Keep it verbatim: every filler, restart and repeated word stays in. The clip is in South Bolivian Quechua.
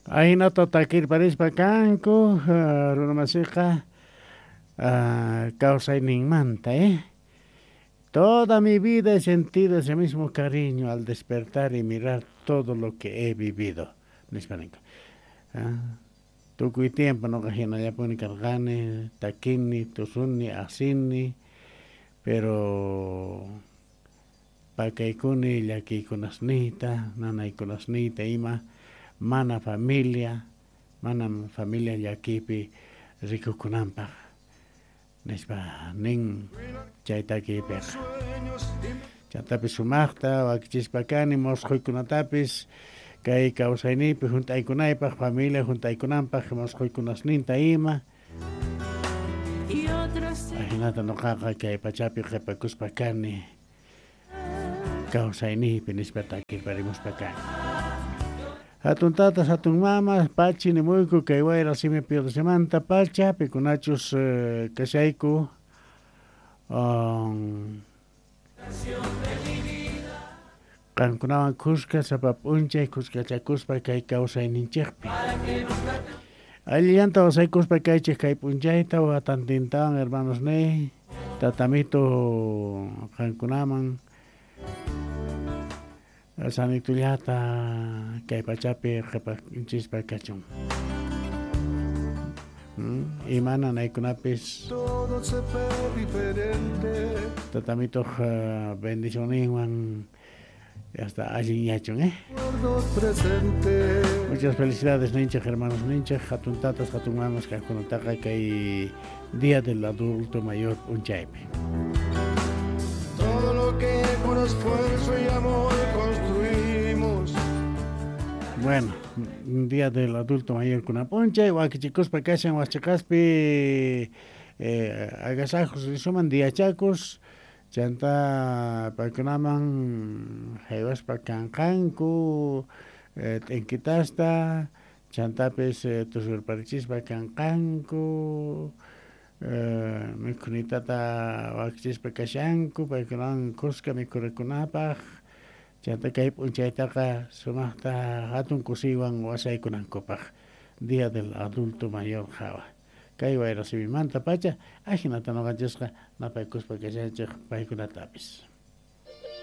Ahinata takirparispa kanku runamasiqa kawsayninmanta, eh. Toda mi vida he sentido ese mismo cariño al despertar y mirar todo lo que he vivido. Nispa ninku. Tukuy tiempo noqa hinallapuni karqani, takini, tusuni, asini, pero pakaykuni llakiykunasniyta, nanaykunasniyta ima, mana familia, mana familia llakiypi rikukunanpaq. Nispa nin chay takiypiqa. Chantapis sumaqta wakichispa kani mosqoykunatapis kay kawsayniypi hunt'aykunaypaq, familia hunt'aykunanpaq mosqoykunasninta ima. Ahinata noqaqa kay pachapi qhipakuspa kani kawsayniypi nispa takirparimuspa kani. Hatun tatas, hatun mamas, pachi nimuyku kay wayra simi piyodosimanta pacha, pikunachus kashayku um, qankunawan kuska sapa p'unchay kuskachakuspa kay kawsayninchikpi. Allillanta wasaykuspa kaychik kay p'unchayta watantintawan hermanos niy, tatamito qankunaman sanitullata kay pachapi qhipanchispa kachun. Ima nanaykunapis tatamitoq bendicionninwan hasta allin yachun, eh. Muchas felicidades ninchik hermanos ninchik, hatun tatas, hatun mamas kaqkunataqa kay Día del Adulto Mayor p'unchaypi. Todo lo que con esfuerzo y amor construimos. Bueno, Día del Adulto Mayor kunapunchay, wakichikuspa kashan wasiqaspi eh, agasajos risuman diachakus, chanta paykunaman haywaspa kanqanku eh, t'inkitasta, chantapis eh, tusurparichispa kanqanku, eh, mikhunitata wakichispa kashanku, paykunawan kuska mikhurikunapaq, chanta kay p'unchaytaqa sumaqta hatun kusiywan wasaykunankupaq. Día del Adulto Mayor hawa. Kay wayra simimanta pacha, ajinata noqanchisqa napaykuspa kashanchik paykunatapis.